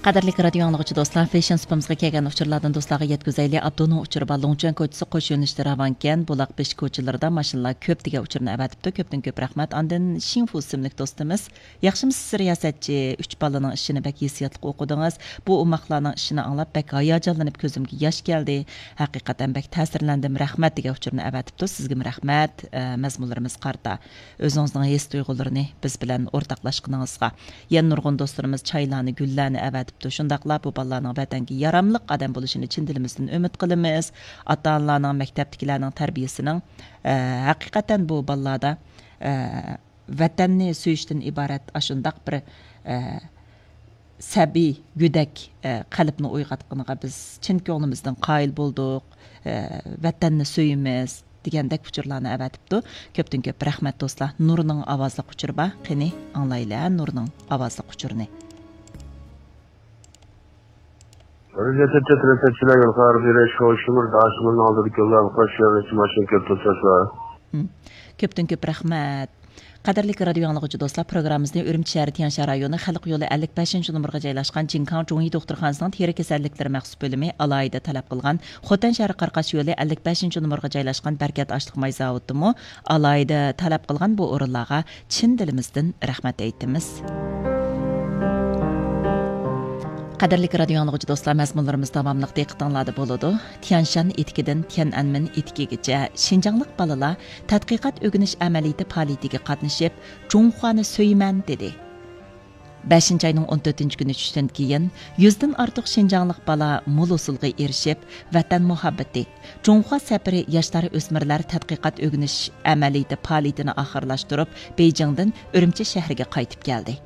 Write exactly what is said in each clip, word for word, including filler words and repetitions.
قەدىرلىك رادىيو ئاڭلىغۇچى دوستلار، فېشن سۇپىمىزغا كەلگەن ئۇچۇرلاردىن دوستلارغا يەتكۈزەيلى. ئابدۇنىڭ ئۇچۇرى بار، لۇڭچۈەن كوچىسى قوش يۆنىلىشتە راۋانكەن، بۇلاق بېشى كوچىلىرىدا ماشىنىلار كۆپ دېگەن ئۇچۇرنى ئەۋەتىپتۇ. كۆپتىن كۆپ رەھمەت. ئاندىن شىڭفۇ ئىسىملىك دوستىمىز، ياخشىمۇسىز رىياسەتچى؟ ئۈچ بالىنىڭ ئىشىنى بەك ھېسسىياتلىق ئوقۇدىڭىز. بۇ ئوماقلارنىڭ ئىشىنى ئاڭلاپ بەك ھاياجانلىنىپ كۆزۈمگە ياش كەلدى. ھەقىقەتەن بەك تەسىرلەندىم، رەھمەت دېگەن ئۇچۇرنى ئەۋەتىپتۇ. سىزگىمۇ رەھمەت، ئە، مەزمۇنلىرىمىز قارىتا. ئۆزىڭىزنىڭ ھېس تۇيغۇلىرىنى بىز بىلەن ئورتاقلاشقىنىڭىزغا. يەنە نۇرغۇن دوستلىرىمىز چايلارنى، گۈللەرنى ئەۋەتىپتۇ. شۇنداقلا بۇ بالىلارنىڭ ۋەتەنگە ياراملىق ئادەم بولۇشىنى چىن دىلىمىزدىن ئۈمىد قىلىمىز. ئاتا-ئانىلارنىڭ، مەكتەپتىكىلەرنىڭ تەربىيىسىنىڭ، ئە، ھەقىقەتەن بۇ بالىلاردا، ئە، ۋەتەننى سۆيۈشتىن ئىبارەت ئاشۇنداق بىر، ئە، سەبىي، گۆدەك، ئە، قەلبنى ئويغاتقىنىغا بىز چىن كۆڭلىمىزدىن قايىل بولدۇق. ئە، ۋەتەننى سۆيىمىز دېگەندەك ئۇچۇرلارنى ئەۋەتىپتۇ. كۆپتىن كۆپ رەھمەت دوستلار. نۇرنىڭ ئاۋازلىق ئۇچۇرى بار. قېنى، ئاڭلايلى، ھە، نۇرنىڭ ئاۋازلىق ئۇچۇرىنى. رىياسەتچى، رىياسەتچىلەر يولغا بېرىش، خوشۇمۇر داشىمىزنىڭ ئالدىدىكى يوللارغا قارشى يەرلىكچە ماشىنا كۆپ توساشلار. ھىم. كۆپتىن كۆپ رەھمەت. قەدىرلىك رادىيو ئاڭلىغۇچى دوستلار، پروگراممىمىزنى ئۈرۈمچى شەھىرى تيەنشان رايونى خەلق يولى ئەللىك بەشىنچى نومۇرغا جايلاشقان جىڭكاڭ جۇڭيى دوختۇرخانىسىنىڭ تېرە كېسەللىكلىرى مەخسۇس بۆلۈمى ئالاھىدە تەلەپ قىلغان، خوتەن شەھىرى قارقاش يولى ئەللىك بەشىنچى نومۇرغا جايلاشقان بەرىكەت ئاشلىق ماي زاۋۇتىمۇ ئالاھىدە تەلەپ قىلغان بۇ ئورۇنلارغا چىن دىلىمىزدىن رەھمەت ئېيتىمىز. قەدىرلىك رادىيو ئاڭلىغۇچى دوستلار، مەزمۇنلىرىمىز داۋاملىق دىققىتىڭلاردا بولىدۇ. تيەنشان ئېتىكىدىن تيەنئەنمېن ئېتىكىگىچە شىنجاڭلىق بالىلار تەتقىقات ئۆگىنىش ئەمەلىيىتى پائالىيىتىگە قاتنىشىپ، جۇڭخۇانى سۆيىمەن دېدى. بەشىنچى ئاينىڭ ئون تۆتىنچى كۈنى چۈشتىن كېيىن يۈزدىن ئارتۇق شىنجاڭلىق بالا مول ھوسۇلغا ئېرىشىپ، ۋەتەن مۇھەببىتى، جۇڭخۇا سەپىرى ياشلار ئۆسمۈرلەر تەتقىقات ئۆگىنىش ئەمەلىيىتى پائالىيىتىنى ئاخىرلاشتۇرۇپ، بېيجىڭدىن ئۈرۈمچى شەھىرىگە قايتىپ كەلدى.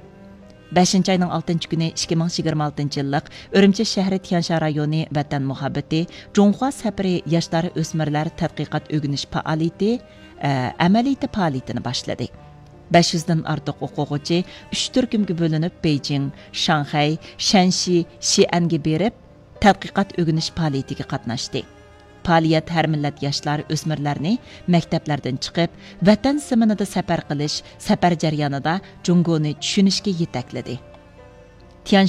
بەشىنچى ئاينىڭ ئالتىنچى كۈنى، ئىككى مىڭ يىگىرمە ئالتىنچى يىللىق ئۈرۈمچى شەھىرى تيەنشان رايونى ۋەتەن مۇھەببىتى، جۇڭخۇا سەپىرى ياشلار ئۆسمۈرلەر تەتقىقات ئۆگىنىش پائالىيىتى، ئە، ئەمەلىيىتى پائالىيىتىنى باشلىدى. بەش يۈزدىن ئارتۇق ئوقۇغۇچى ئۈچ تۈركۈمگە بۆلۈنۈپ، بېيجىڭ، شاڭخەي، شەنشى، شىئەنگە بېرىپ، تەتقىقات ئۆگىنىش پائالىيىتىگە قاتناشتى. پائالىيەت ھەر مىللەت ياشلار، ئۆسمۈرلەرنى مەكتەپلەردىن چىقىپ، ۋەتەن زېمىنىدا سەپەر قىلىش، سەپەر جەريانىدا جۇڭگونى چۈشىنىشكە يېتەكلىدى. تيەنشان